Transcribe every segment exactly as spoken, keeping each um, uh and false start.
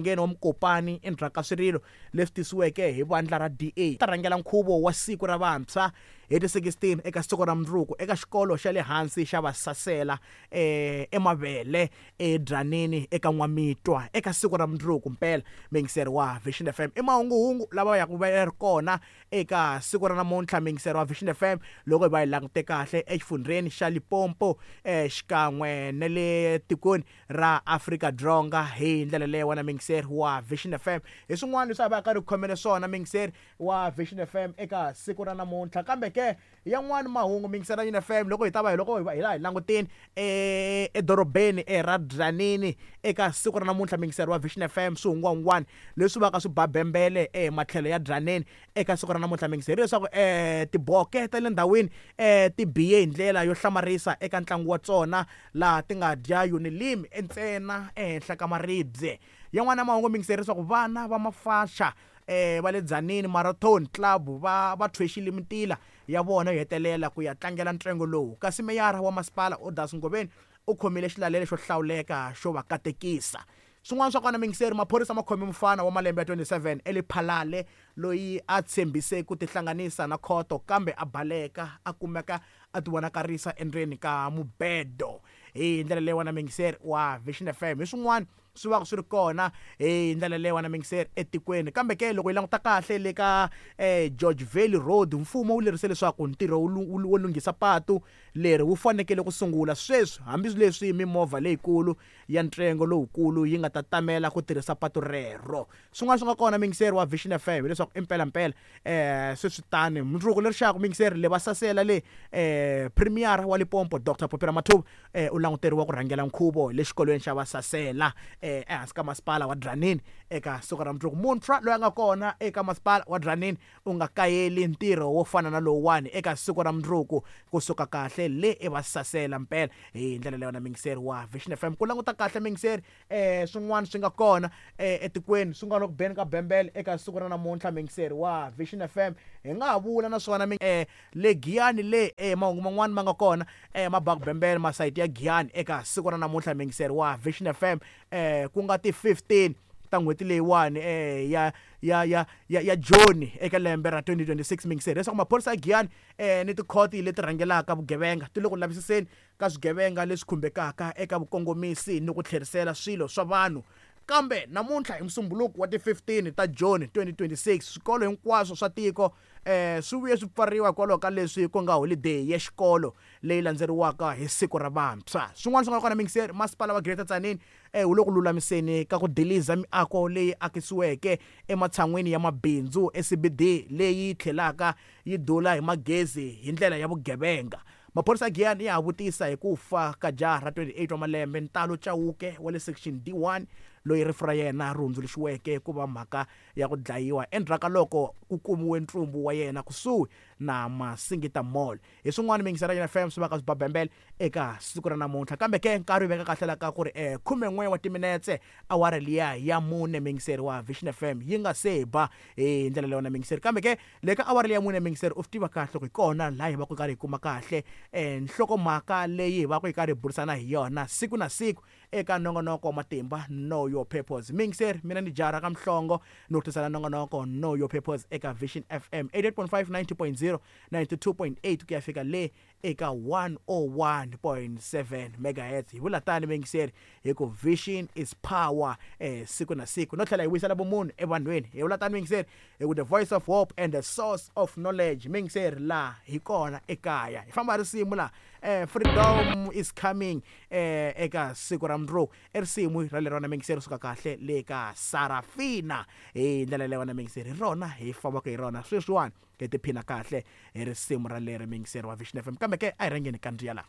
Ngeno wa Mokopane endzhaku ka swirilo leswi tisiweke hi vandla ra D A ta rhangela nkhuvo wa siku ra vantshwa hi ti sixteen eka siku ra mundzuku eka xikolo xa le hansi xa Vasasela eh eMavele eDzanini eka N'wamitwa eka siku ra mundzuku mpela mingiseri wa Vision F M i mahunguhungu lava ya ku va ri kona eka siku ra namuntlha mingiseri wa Vision F M loko hi va hi langute kahle exifundzheni xa Limpopo eh xikan'we na le tikweni ra Afrika Dzonga hi ndlela leyi wena mingiseri wa Vision F M hi swin'wana leswi a va ka ri khomele swona mingiseri wa Vision F M eka siku ra namuntlha kambe ke yan'wana mahungu mingiseri ya F M loko hi ta va hi loko hi la hi languteni e edorobeni era Dzanini eka siku ra namuntlha mingiseri wa Vision F M swihungwangwana leswi va ka swi babembele e matlhelo ya Dzanini eka siku ra namuntlha mingiseri leswaku eh tiboke ta le ndhawini eh ti biye hi ndlela yo hlamarisa eka ntlangu wa tsona laha ti nga dya Unilimi ntsena ehenhla ka maribye yan'wana mahungu mingiseri leswaku vana va mafasha eh va le Dzanini Marathon Club va va thwexile mintila ya vona yo hetelela ku ya tlangela ntsengo lowu kasi meyara wa masipala Odas Ngobeni u khomile xilalelo xo hlawuleka xo va katekisa swin'wana swa kona mingiseri maphorisa ma khome mufana wa malembe ya twenty-seven eLephalale loyi a tshembise ku tihlanganisa na khoto kambe a baleka a kumeka a tivonakarisa endzeni ka mubedo hi ndlela leyi wena mingiseri wa Vision F M hi swin'wana swi va swi ri kona hi ndlela leyi wena mingiseri etikweni kambe ke loko hi languta kahle le ka eh George Valley Road mfumo wu lerise leswaku ntirho wo lunghisa patu leri wu fanekele ku sungula sweswi hambileswi mimovha leyikulu ya ntsengo lowukulu yi nga ta tamela ku tirhisa patu rero swin'wana swi nga kona mingiseri wa Vision F M hileswaku impela mpela eh sweswi tani mundzuku leri xaku mingiseri le va sasela le eh premier wa Limpopo Doctor Phophi Ramathuba eh u languteriwa ku rhangela nkhuvo le xikolweni xa Vasasela eh ehansi ka masipala wa Dzanini eka siku ra mundzuku muntshwa loyi a nga kona eka masipala wa Dzanini u nga kayeli ntirho wo fana na lowuwani eka siku ra mundzuku kusuka kahle le eVasasela mpela hi ndlela leyo na mingiseri wa Vision F M ku languta kahle mingiseri eh swin'wana swi nga kona etikweni swi nga loko beni ka bembele eka siku ra namuntlha mingiseri wa Vision F M hi nga ha vula naswona eh le Giyani le eh mahungu man'wana ma nga kona eh mabaku bembele masayiti ya Giyani eka siku ra namuntlha mingiseri wa Vision F M eh ku nga ti fifteen ta n'hweti leyiwani eh ya ya ya ya ya Joni eka lembe ra twenty twenty-six mingiseri leswaku maphorisa ya Giyani eh ni tikhoti leti rhangelaka vugevenga ti le ku lavisiseni ka swigevenga leswi khumbekaka eka vukongomisi ni ku tlherisela swilo swa vanhu kambe namuntlha hi musumbuluko wa ti fifteen ta Joni twenty twenty-six swikolo hinkwaswo swa tiko eh swi vuye swi pfariwa hikwalaho ka leswi ku nga holiday ya xikolo leyi landzeriwaka hi siku ra vantshwa swin'wana swi nga kona mingiseri masipala wa Greater Tzaneen eh wu le ku lulamiseni ka ku diliza miako leyi akisiweke ematshan'wini ya mabindzu e C B D leyi tlhelaka yi dula hi magezi hi ndlela ya vugevenga maphorisa ya Giyani ya ha vutisa hi ku fa ka jaha ra twenty-eight wa malembe Ntalo Chauke wa le section D one loyi rifu ra yena ri hundzuluxiweke ku va mhaka ya ku dlayiwa endzhaku ka loko ku kumiwe ntsumbu wa yena kusuhi na Masingita Mall hi swin'wana mingisera ya F M swi va ka swi babembele eka siku ra namuntlha kambe ke nkarhi wu veka kahle la ka ku ri eh khumen'we wa timinetse awara liya ya mune mingiseri wa Vision F M yi nga se ba hi ndlela leyo na mingiseri kambe ke le ka awara liya mune mingiseri u swi tiva kahle ku hi kona laha hi va ku karhi hi kuma kahle eh nhlokomhaka leyi hi va ku hi karhi hi burisana hi yona siku na siku eka nongonoko wa matimba Know Your Purpose mingiseri mina ni jara ka Mhlongo no tisana nongonoko Know Your Purpose eka Vision F M eighty-eight point five ninety point zero ninety-two point eight ku ya fika le eka one oh one point seven megahertz hi vula tani mingiseri hi ku vision is power eh siku na siku no tlhela hi vuyisela vumunhu evanhwini hi vula tani mingiseri hi ku the voice of hope and the source of knowledge mingiseri la hi kona ekaya hi famba risimu la eh freedom is coming eh eka siku ra mundzuku i risimu ra lerona mingiseri suka kahle le ka Sarafina hi ndlela leyo na mingiseri hi rona hi fambaka hi rona sweswiwani hi tiphina kahle hi risimu ra leri mingiseri wa Vision F M kambe ke a hi rhangeni ka ndzi ya la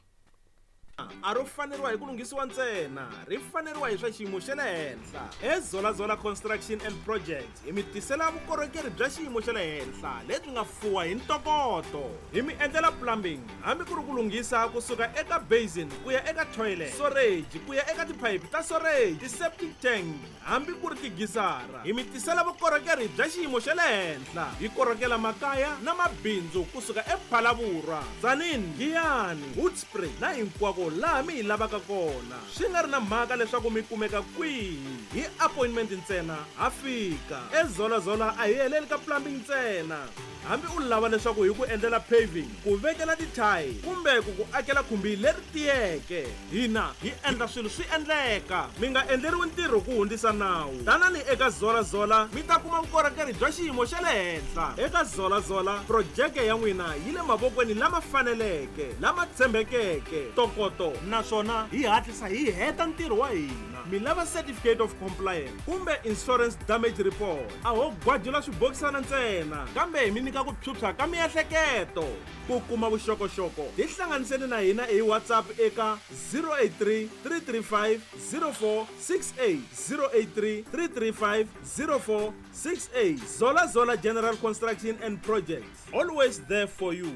a ro faneriwa hi ku lunghisiwa ntsena ri faneriwa hi swa xiyimo xa le henhla eZola Construction and Projects hi mi tisela vukorhokeri bya xiyimo xa le henhla lebyi nga fuwa hi ntokoto hi mi endlela plumbing hambi ku ri ku lunghisa kusuka eka basin ku ya eka toilet storage ku ya eka tiphayiphi ta storage ti-septic tank hambi ku ri tigisara hi mi tisela vukorhokeri bya xiyimo xa le henhla hi korhokela makaya na mabindzu kusuka ePhalavurwa, Tzaneen, Giyani, Hoedspruit na hinkwako hinkwako laha mi hi lavaka kona swi nga ri na mhaka leswaku mi kumeka kwihi hi appointment ntsena ha fika ezolazola a hi heleli ka plumbing ntsena hambi u lava leswaku hi ku endlela paving ku vekela tithayi kumbe ku ku akela khumbi leri tiyeke hina hi endla swilo swi endleka mi nga endleriwi ntirho ku hundzisa nawu tanani eka zolazola mi ta kuma vukorhokeri bya xiyimo xa le henhla eka zolazola projeke ya n'wina yi le mavokweni lama faneleke lama tshembekeke ntokoto naswona hi hatlisa hi heta ntirho wa hina mi lava certificate of compliance kumbe insurance damage report a ho gwajula swibokisana ntsena kambe hi mi nyika ku phyuphya ka miehleketo ku kuma vuxokoxoko tihlanganiseni na hina hi whatsapp eka zero eight three three three five zero four six eight zero eight three three three five zero four six eight zola zola general construction and projects always there for you.